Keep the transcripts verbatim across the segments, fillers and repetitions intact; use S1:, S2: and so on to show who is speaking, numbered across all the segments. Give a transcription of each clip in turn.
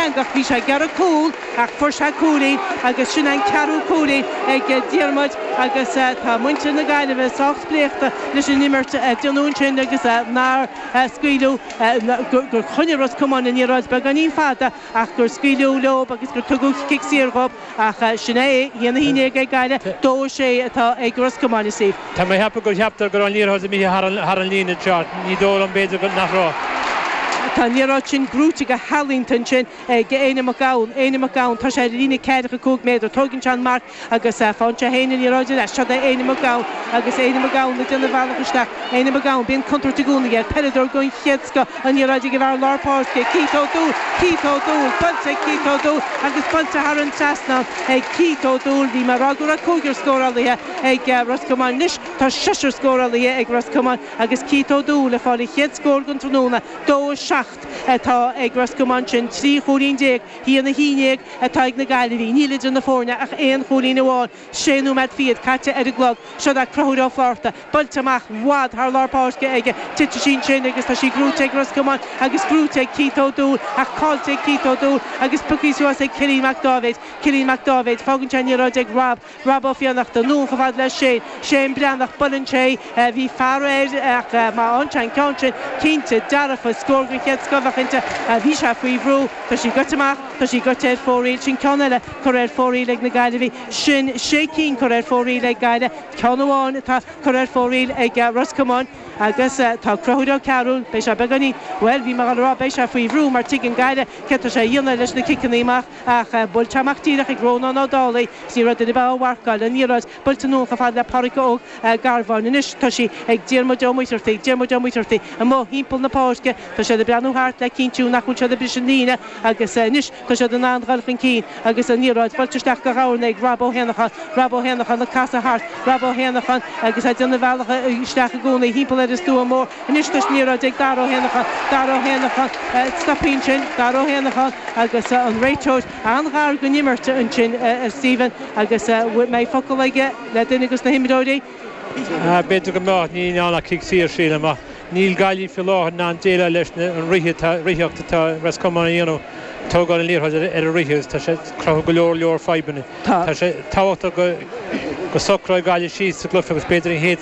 S1: an-eangach, bhí sé ag iarraidh cúl ach fuair sé cúilín agus sin an ceathrú cúilín ag Diarmuid agus tá muintir na Gaillimhe sách spléachta leis an imirt a déanadh ansin agus nár scaoileadh gur choinnigh Ros Comáin an liathróid beagáinín fada ach gur scaoileadh leo agus gur tugadh cic saor dhóibh ach sin é, a haon a haon déag ag Gaillimh, dó a sé atá ag Ros Comáin a Steve.
S2: Tá mé ag ceapadh gur cheaptar go raibh an liathróid imithe thar an líne anseo, ní dóigh liom b'fhéidir nach raibh.
S1: Tá an liathróid sin gnóite go healaíonta ansin ag Éanna Mac Gabhann. Éanna Mac Gabhann, tá sé ar an líne ceathracha cúig méadar. Tóigeann sé an marc agus faigheann sé féin an liathróid ar ais. Seo é Éanna Mac Gabhann agus Éanna Mac Gabhann ag déanamh a bhealach isteach. Éanna Mac Gabhann, bíonn contúirt i gcónaí air. Peileadóir den chéad scoth, an liathróid ag an bhfear lár páirce, Keith O'Doul. Keith O'Doul, buailte ag Keith O'Doul agus buailte thar an trasnán ag Keith O'Doul. Bhí mé ag rá go raibh cúigear scórálaithe ag Ros Comáin. Anois tá seisear scórálaithe ag Ros Comáin agus Keith O'Doul ag fáil a chéad scór den tráthnóna, dó a seacht atá ag Ros Comáin, sin trí chúilín déag, a haon a haon déag atá ag na Gaillimhigh. Níl idir na foirne ach aon chúilín amháin. Sé nóiméad fichead caite ar an gclog. Seo é Conchúr Ó Flatharta, buailte amach i bhfad thar lár páirce aige. Titeann sí ansin agus tá sí gnóite ag Ros Comáin agus gnóite ag Keith O'Doul ach caillte ag Keith O'Doul agus pioctha suas ag Cillian Mac Dáibhéid. Cillian Mac Dáibhéid, fágann sé an liathróid ag Rob. Rob Ó Fiannachta, anonn chomh fada le Shane. Shane Breathnach, buaileann sé, bhí fear air ach má fhaigheann sé an ceann sin, cinnte, dearfa, scór den chéad scoth a bheadh inti. Bhí sé faoi bhrú, tá sí goite amach, tá sí goite ar fóraoil. Sin ceann eile curtha ar fóraoil ag na Gaillimhigh. Sin sé cinn curtha ar fóraoil ag Gaillimh, ceann amháin atá curtha ar fóraoil ag Ros Comáin. Agus tá Conchúr Ó Cearúil, beidh sé beagáinín, bhuel, bhí mé ag rá beidh sé faoi bhrú mar tuigeann Gaillimh céard tá sé a dhéanamh leis na ciceanna amach ach buailte amach díreach ag Rónán Ó Dálaigh is ní raibh duine ar bith á mharcáil. An liathróid buailte anonn chomh fada le Pádraic Óg Garbháin. Anois tá sí ag Diarmuid Ó Muircheartaigh, Diarmuid Ó Muircheartaigh amuigh thimpeall na páirce. Tá siad ag breathnú thart le cinntiú nach bhfuil siad ag briseadh an líne agus anois tá siad in ann dul chun cinn agus an liathróid buailte isteach go dhomhain ag Rob Ó hÉanacháin, Rob Ó hÉanacháin ag casadh thart, Rob Ó hÉanacháin agus é ag déanamh a bhealach isteach i gcónaí thimpeall ar an stua mór. Anois tá an liathróid ag Dara Ó hÉanacháin, Dara Ó Héanacháin, stoptha ansin, Dara Ó hÉanacháin agus an réiteoir an-ghar don imirt ansin, a Stephen, agus mbeidh focal aige le duine de na himreoirí?
S2: B'fhéidir go mbeadh, ní ann ach cic saor, sílim, ach níl Gaillimh faoi láthair in ann déileáil leis an ritheacht atá Ros Comáin a dhéanamh, tógáil an liathróid ar an rith agus tá sé ag cruthú go leor leor fadhbanna. Tá sé tábhachtach go go socróidh Gaillimh síos sa gcluiche agus b'fhéidir an chéad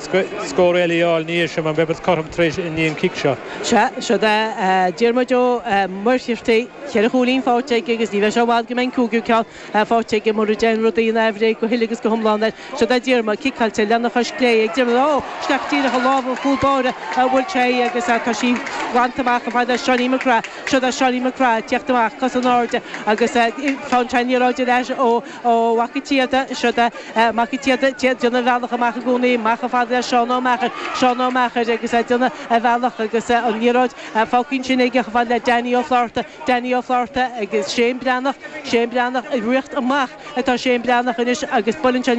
S2: scór eile a fháil ina dhiaidh sin mar beidh muid cothrom tar éis i ndiaidh an cic seo.
S1: Sea, seo é Diarmuid Ó Muircheartaigh, ceithre chúilín faighte aige agus ní bheidh sé i bhfad go mbeidh an cúigiú ceann faighte aige mura dtéann rudaí in aimhréidh go huile agus go hiomlán air. Seo é Diarmuid, ciceáilte lena chois chlé ag Diarmuid, ó, isteach díreach i lámha an chúl báire a bhuail sé agus tá sí glanta amach chomh fada le Seánie McGrath. Seo é Seánie McGrath ag teacht amach, cos in airde agus faigheann sé an liathróid ar ais ó ó Mhac an tSíoda. Seo é Mac an tSíoda ag déanamh a bhealach amach i gcónaí, amach chomh fada le Seán Ó Meachair. Seán Ó Meachair agus é ag déanamh a bhealach agus an liathróid fágtha ansin aige chomh fada le Danny Ó Flatharta. Danny Ó Flatharta agus Shane Breathnach, Shane Breathnach ag rith amach atá Shane Breathnach anois agus buaileann sé